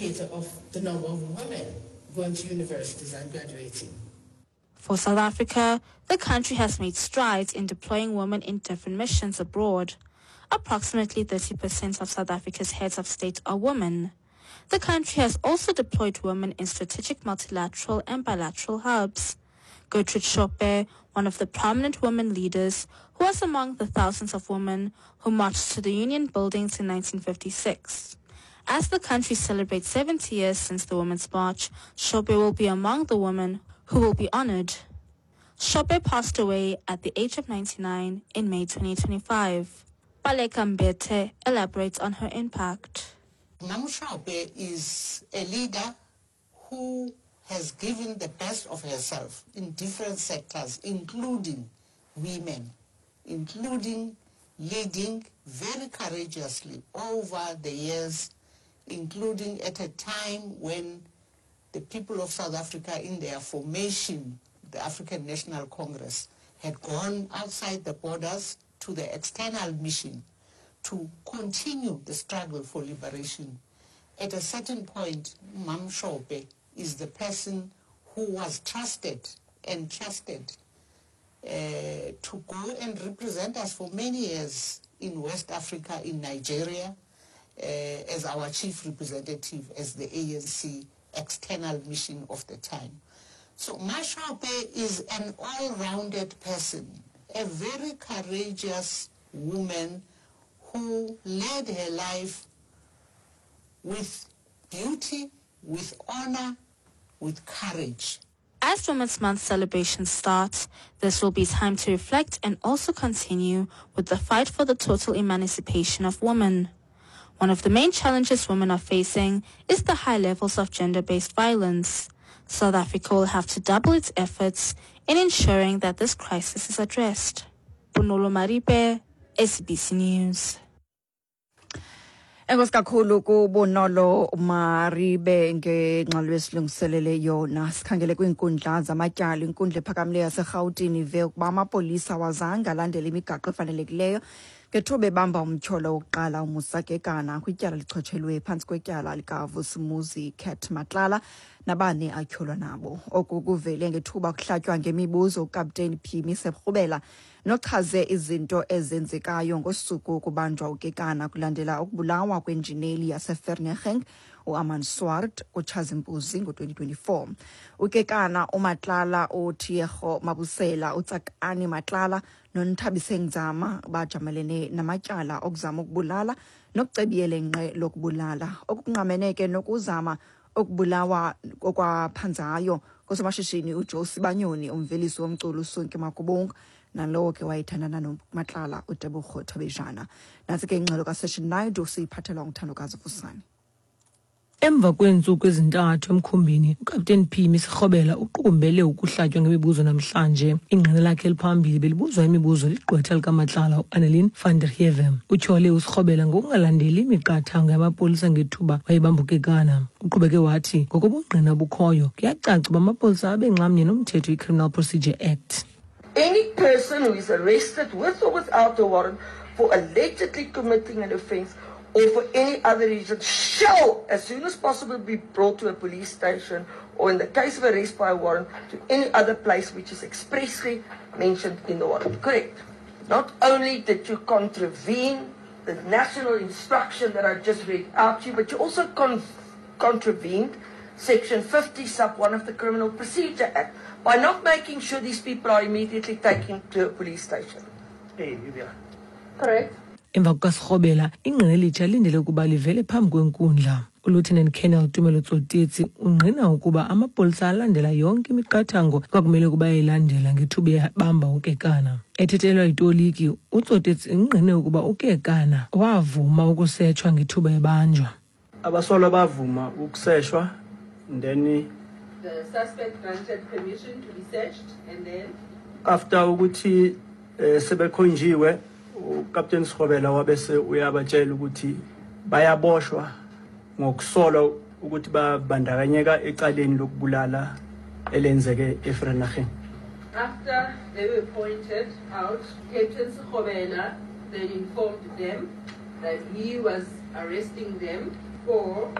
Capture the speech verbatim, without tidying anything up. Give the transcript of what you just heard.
indicator of the number of women going to universities and graduating. For South Africa, the country has made strides in deploying women in different missions abroad. Approximately thirty percent of South Africa's heads of state are women. The country has also deployed women in strategic multilateral and bilateral hubs. Gertrude Shope, one of the prominent women leaders, who was among the thousands of women who marched to the Union buildings in nineteen fifty-six. As the country celebrates seventy years since the Women's March, Shope will be among the women who will be honored. Shope passed away at the age of ninety-nine in May twenty twenty-five. Baleka Mbete elaborates on her impact. Mam Shope is a leader who has given the best of herself in different sectors, including women, including leading very courageously over the years, including at a time when the people of South Africa in their formation, the African National Congress, had gone outside the borders to the external mission to continue the struggle for liberation. At a certain point, Mam Shope is the person who was trusted and trusted, uh, to go and represent us for many years in West Africa, in Nigeria, uh, as our chief representative, as the A N C external mission of the time. So Ma Shope is an all-rounded person, a very courageous woman who led her life with beauty, with honor, with courage. As Women's Month celebrations start, this will be time to reflect and also continue with the fight for the total emancipation of women. One of the main challenges women are facing is the high levels of gender-based violence. South Africa will have to double its efforts in ensuring that this crisis is addressed. Bonolo Maribe, S A B C News. Enkosi kakhulu kuBonolo Maribe ngengxelo esilungiselele yona. Sikhangele kwiinkundla zamatyala. Inkundla ephakamileyo yaseRhawutini ive ukuba amapolisa awazange alandele imigaqo efanelekileyo ngethuba ebamba umtyholo wokuqala uMusa Kekana kwityala lichotshelwe phantsi kwetyala likaVusimuzi Cat Matlala nabane atyholwa nabo. Oku kuvele ngethuba kuhlatywa ngemibuzo uKapteni Phimi Sekrubela nochaze izinto ezenzekayo ngosuku kubanjwa uKekana kulandela ukubulawa kwenjineli yaseVereeniging uArmand Swart kuTshazimpuzi ngo-twenty twenty-four. UKekana, uMatlala, uTiego Mabusela, uTsakani Matlala noNthabiseng Nzama bajamelene namatyala okuzama ukubulala nokucebiyela nqe lokubulala, okungqamene ke nokuzama ukubulawa okwaphanzayo kosomashishini uJoe Sibanyoni, umvelisi womculo uSonke Makubunga, nalowo ke wayethandana noMatlala uTebogo Thobejane. Nantsi ke ingxelo kaSession Naidoo siyiphathelwa nguThandokazi Vusani. Emva kweentsuku ezintathu emkhumbini, uKapteni Phimi Sekrubela uqukumbele ukuhlatywa ngemibuzo namhlanje. Ingqina lakhe eliphambili belibuzwa imibuzo ligqwetha likaMatlala uAnnelien van der Heever. Utyhole uSekrubela ngokungalandeli imiqathango yamapolisa ngethuba wayebambukekana. Uqhubeke wathi ngokobungqina obukhoyo kuyacaca uba amapolisa abenxamnye nomthetho iCriminal Procedure Act. Any person who is arrested with or without a warrant for allegedly committing an offence or for any other reason shall, as soon as possible, be brought to a police station or, in the case of arrest by a warrant, to any other place which is expressly mentioned in the warrant. Correct. Not only did you contravene the national instruction that I just read out to you, but you also con- contravened Section fifty sub one of the Criminal Procedure Act by not making sure these people are immediately taken to a police station. Hey, you are. Correct. Emva kukaSirhobela, ingqina elitsha lindele ukuba livele phambi kwenkundla. ULieutenant Colonel Tumelo Tsotetsi ungqina ukuba amapolisa alandela yonke imiqathango kwakumele ukuba ayilandela ngethuba ebamba uKekana. Ethethelwa yitoliki, uTsotetsi ungqine ukuba uKekana wavuma ukusetshwa ngethuba ebanjwa. Abasolwa bavuma ukuseshwa, then the suspect granted permission to be searched, and then after ukuthi, eh, sebekhonjiwe, uCaptain Sekrubela wabese uyabatshela ukuthi bayaboshwa ngokusolwa ukuthi babandakanyeka ecaleni lokubulala elenzeke eVereeniging. After they were pointed out, Captain Sekrubela then informed them that he was arresting them for